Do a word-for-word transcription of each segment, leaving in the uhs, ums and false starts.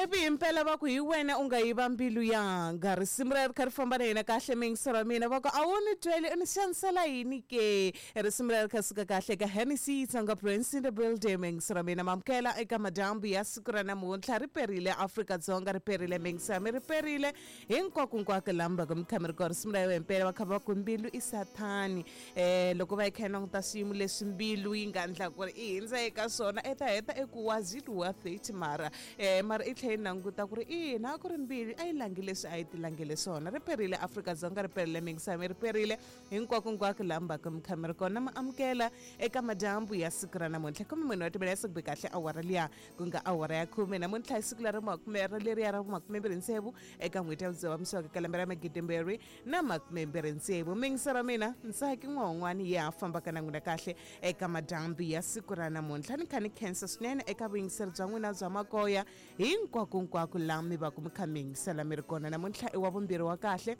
Ivi himpela va ku hi wena u nga yiva mbilu yanga. Risimu ra ri kha ri famba na hina kahle miyingiselo wa mina va ku a wu ni tweli u ni xanisela yini ke. Risimu ra ri kha suka kahle ka Hennessy Tsonga Prince in the building miyingiselo wa mina mamukela eka madyambu ya siku ra namuntlha ri perile Afrika-Dzonga ri perile miyingiselo mi ri perile hinkwakonkwako laha mi va ka mi kha mi ri kona. Risimu ra himpela va kha va ku mbilu i sathani um loko va yi kha yi languta swiyimo leswi mbilu yi nga endla ku ri i hindza eka swona i ta heta eku was it worth it mara um mara i tlhela yi languta ku ri ina a ku ri mbilu a yi langi leswi a yi ti langele swona. Ri perile Afrika-Dzonga ri perile miyingiselo ri perile hinkwakonkwako laha mi va ka mi kha mi ri kona. Ma amukela eka madyambu ya siku ra namuntlha khume mune wa timela ya siku be kahle awara liya ku nga awara ya khume namuntlha hi siku leri makume leriya ra makumembirhi ntsevu eka n'hweti ya Dzivamisoko ka lembe ra magidimbirhi na makumembirhi ntsevu. Miyingiselo mina Ntsaki N'wan'wani ya fambaka na n'wina kahle eka madyambu ya siku ra namuntlha. Ni kha ni khensa swinene eka vuyingiseri bya n'wina bya makoya hinkwakonkwako laha mi va ku mi kha mi yingisela mi ri kona. Namuntlha i wa vumbirhi wa kahle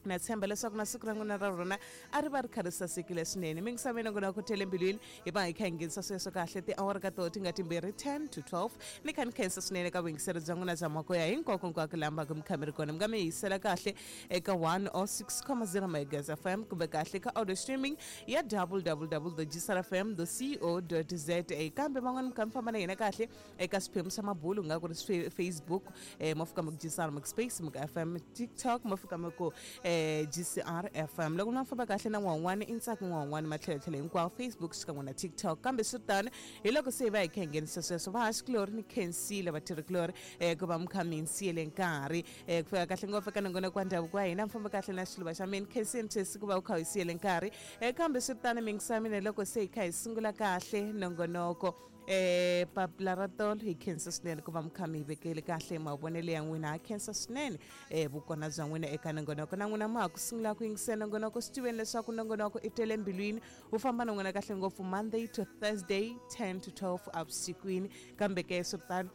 na tshemba leswaku na siku ra n'wina ra rona a ri va ri kha ri sasekile swinene. Miyingisa mina n'wina ku tele mbilwini hi va hi kha hi nghenisa sweswo kahle tiawara ka toho ti nga timbirhi ten to twelve. Ni kha ni khensa swinene ka vuyingiseri bya n'wina bya makoya hinkwakonkwako laha mi va ku mi kha mi ri kona. Mi nga mi yisela kahle eka one oh six comma zero megahertz F M kumbe kahle ka audio streaming ya w w w dot g s r f m dot co dot z a. Kambe van'wani mi kha mi famba na hina kahle eka swiphemu swa mabulu ku nga ku ri Facebook um mo fika mi ku G S R mi ku space mi ku F M, TikTok mo fika mi ku G C R F M. Loko mi famba kahle na n'wan'wani i Ntsaki N'wan'wani matlhelotlhelo hinkwawo Facebook xikan'we na TikTok. Kambe swi tano hi loko se hi va hi kha hi nghenisa sweswo vahaxikulori ni khensile vatirhikulori um ku va mi kha mi hi siyele nkarhi um ku fika kahle ngopfu eka nongonoko wa ndhavuko wa hina. Mi famba kahle na xiluva xa mina khensini Chesi ku va u kha u hi siyele nkarhi um kambe swi tano miyingisa mina loko se hi kha hi sungula kahle nongonoko eh papila ra tolo hi khensa swinene ku va mi kha mi hi vekele kahle mavonelo ya n'wina. Ha khensa swinene um vukona bya n'wina eka nongonoko na n'wina ma ha ku sungula ku yingisela nongonoko swi tiveni leswaku nongonoko i tele mbilwini wu famba na n'wina kahle ngopfu Monday to Thursday ten to twelve avusikwini. Kambe ke swi tano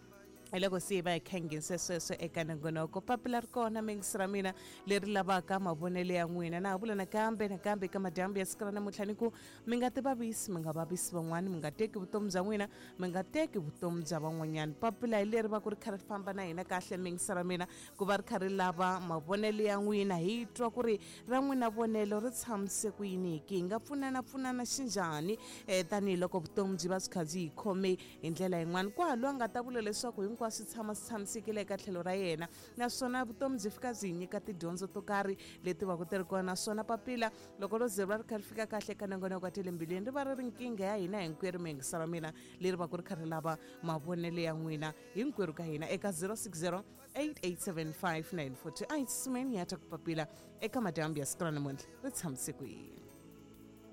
hi loko se hi va hi kha hi nghenise sweswo eka nongonoko. Papila ri kona miyingisi ra mina leri lavaka mavonelo ya n'wina. Na ha vula nakambe nakambe eka madyambu ya siku ra namuntlha ni ku mi nga ti vavisi mi nga vavisi van'wani mi nga teki vutomi bya n'wina mi nga teki vutomi bya van'wanyana. Papila hi leri va ku ri kha ri famba na hina kahle miyingisi ra mina ku va ri kha ri lava mavonelo ya n'wina hi twa ku ri ra n'wina vonelo ri tshamise ku yini ki hi nga pfunana pfunana xinjhani um tanihiloko vutomi byi va byi kha byi hi khome hi ndlela yin'wana. Kwalo a nga ta vula leswaku hinkwaswo swi tshama swi tshamisekile eka tlhelo ra yena naswona vutomi byi fika byi hi nyika tidyondzo to karhi leti va ku ti ri kona. Naswona papila loko ro ze ri va ri kha ri fika kahle eka nongonoko wa tele mbilwini ri va ri ri nkingha ya hina hinkwerhu miyingiselo mina leri va ku ri kha ri lava mavonelo ya n'wina hinkwerhu ka hina eka zero six zero eight eight seven five nine four two. A hi tsutsumeni hi ya ta ku papila eka madyambu ya siku ra namuntlha ri tshamise ku yini.